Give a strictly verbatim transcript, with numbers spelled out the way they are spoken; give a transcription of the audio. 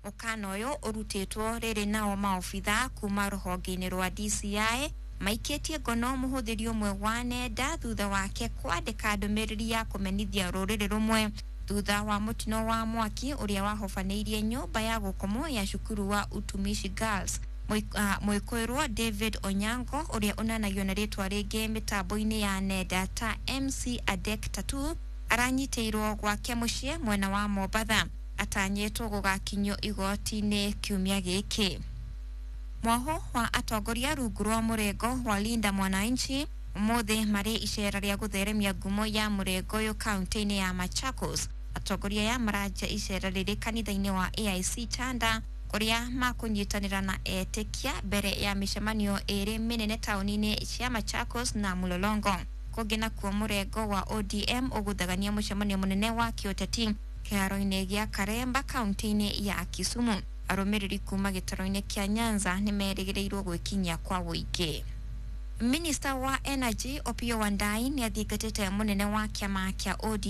Mũkana ũyũ ũrutĩtwo rĩrĩ nao maobitha kuma rũhonge-inĩ rwa D C I maikĩtie ngono mũhũthĩri ũmwe wa nenda thutha wake kwandĩka ndũmĩrĩri ya kũmenithia rũrĩrĩ rũmwe thutha wa mũtino wa mwaki ũrĩa wahobanĩirie nyũmba ya gũkomwo ya cukuru wa Utumishi Girls. Mwĩkũĩrwo David Onyango, ũrĩa ũnanagio na rĩtwa rĩngĩ mĩtambo-inĩ ya nenda ta M C Adek Tattoo, aranyitĩirwo gwake mũciĩ mwena wa Mombatha. Atanyĩtwo gũgakinyio igoti-inĩ kiumia gĩkĩ. Mwaho wa atongoria rungu rwa mũrengo wa Linda Mwananchi ũmũthĩ marĩ icera rĩa gũtheremia ngumo ya mũrengo ũyũ kaunti-inĩ ya Machakos. Atongoria aya maranja icera rĩrĩ kanitha-inĩ wa A I C Chanda, kũrĩa makũnyitanĩra na etĩkia mbere ya mĩcemanio ĩrĩ mĩnene taũni-inĩ cia Machakos na Mlolongo. Kũngĩ nakuo, mũrengo wa O D M ũgũthagania mũcemanio mũnene wa kĩũteti kĩharo-inĩ gĩa Karemba kaunti-inĩ ya Kisumu. Arũmĩrĩri kuma gĩtaro-inĩ kĩa Nyanza nĩ merĩgĩrĩirwo gwĩkinyia kwa ũingĩ. Minista wa Energy Opiyo Wandayi nĩ athingatĩte mũnene wa kĩama kĩa O D M